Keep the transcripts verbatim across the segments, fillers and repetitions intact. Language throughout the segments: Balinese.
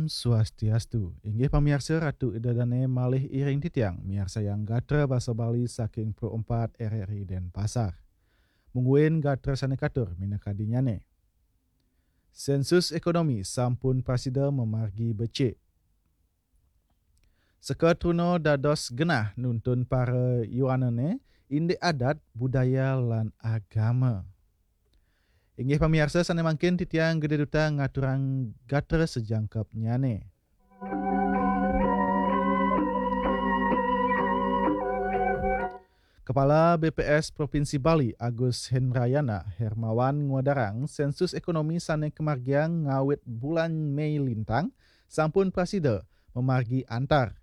Swastiastu. Inggih pamiarsa, Ratu Ida Dane malih iring titiang miarsayang gatra basa Bali saking Pro empat R R I Denpasar. Mungguing gatra sane katur minakadinyane. Sensus ekonomi sampun prasida mamargi becik. Seka truna dados genah nuntun para yuanane indik adat, budaya, lan agama. Inggih pamiarsa, sane mangkin titiang Gede Duta ngaturang gatra sajangkepnyane. Kepala B P S Provinsi Bali Agus Hendrayana Hermawan ngwedarang sensus ekonomi sane kamargiang ngawit bulan Mei lintang sampun prasida mamargi antar.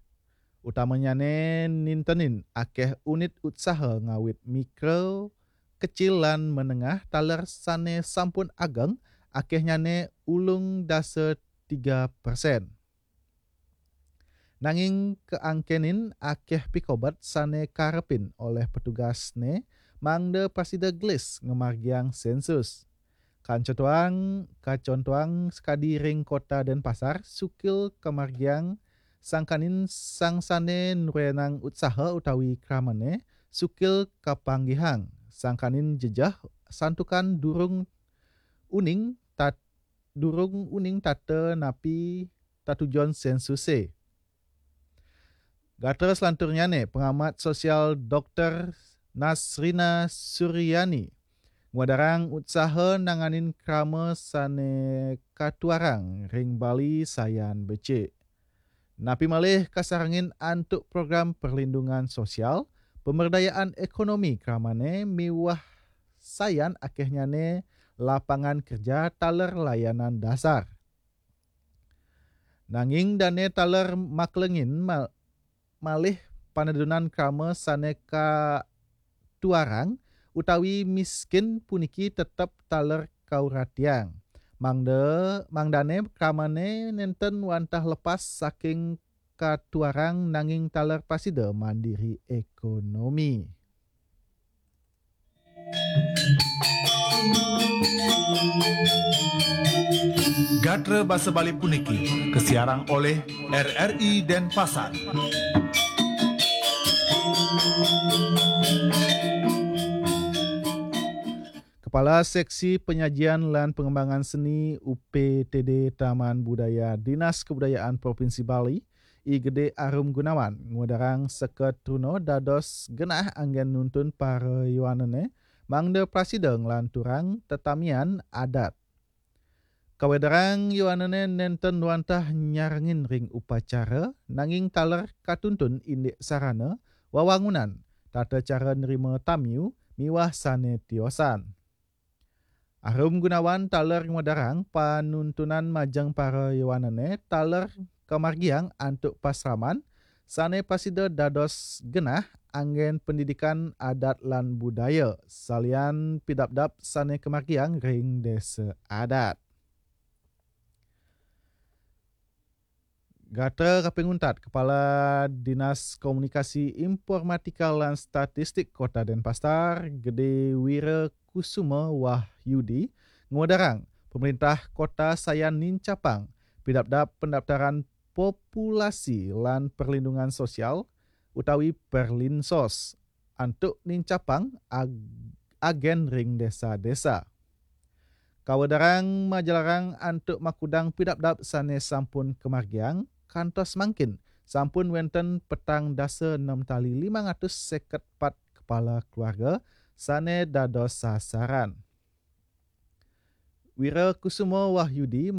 Utamanyane nintenin akeh unit utsaha ngawit mikro, kecil lan menengah taler sane sampun ageng, akehnyane ulung dasa tiga persen. Nanging kaangkenin akeh pikobet sane karepin oleh petugasne mangda prasida gelis ngamargiang sensus. Kancotoang, kacontoang sakadi ring Kota Denpasar, sukil kamargiang sangkanin sang sane nruenang utsaha utawi kramane, sukil kapanggihang sangkanin jejeh santukan durung uning tat-, durung uning tata napi tatujon sensuse. Gatra selanturnyane, pengamat sosial Doktor Nasrina Suryani ngwedarang utsaha nanganin krama sane katuarang ring Bali sayan becik. Napi malih kasarengin antuk program perlindungan sosial, pemberdayaan ekonomi kramane miwah sayan akehnyane lapangan kerja taler layanan dasar. Nanging dane taler maklengin ma-, malih panedunan krama sane katuarang utawi miskin puniki tetep taler kauratiang. Mangda, mangdane kramane nenten wantah lepas saking katuarang nanging taler prasida mandiri ekonomi. Gatra basa Bali puniki kasiarang oleh R R I Denpasar. Kepala Seksi Penyajian lan Pengembangan Seni U P T D Taman Budaya Dinas Kebudayaan Provinsi Bali, I Gede Arum Gunawan, ngwedarang seka truna dados genah anggen nuntun para yuanane mangda prasida nglanturang tetamian adat. Kawedarang yuanane nenten wantah nyarengin ring upacara, nanging taler katuntun indik sarana, wawangunan, tata cara nrima tamiu, miwah sane tiosan. Arum Gunawan taler ngwedarang panuntunan majeng para yuanane taler kamargiang antuk pasraman sane prasida dados genah anggen pendidikan adat lan budaya, salian pidabdab sane kamargiang ring desa adat. Gatra kaping untat, Kepala Dinas Komunikasi, Informatika lan Statistik Kota Denpasar, Gede Wira Kusuma Wahyudi, ngwedarang pemerintah kota sayan nincapang pidabdab pendaftaran populasi lan perlindungan sosial utawi Perlinsos antuk nincapang ag-, agen ring desa-desa. Kawedarang majalarang antuk makudang pidabdab sane sampun kamargiang, kantos mangkin sampun wenten petang dasa enem tali limang atus seket pat kepala keluarga sane dados sasaran. Wira Kusuma Wahyudi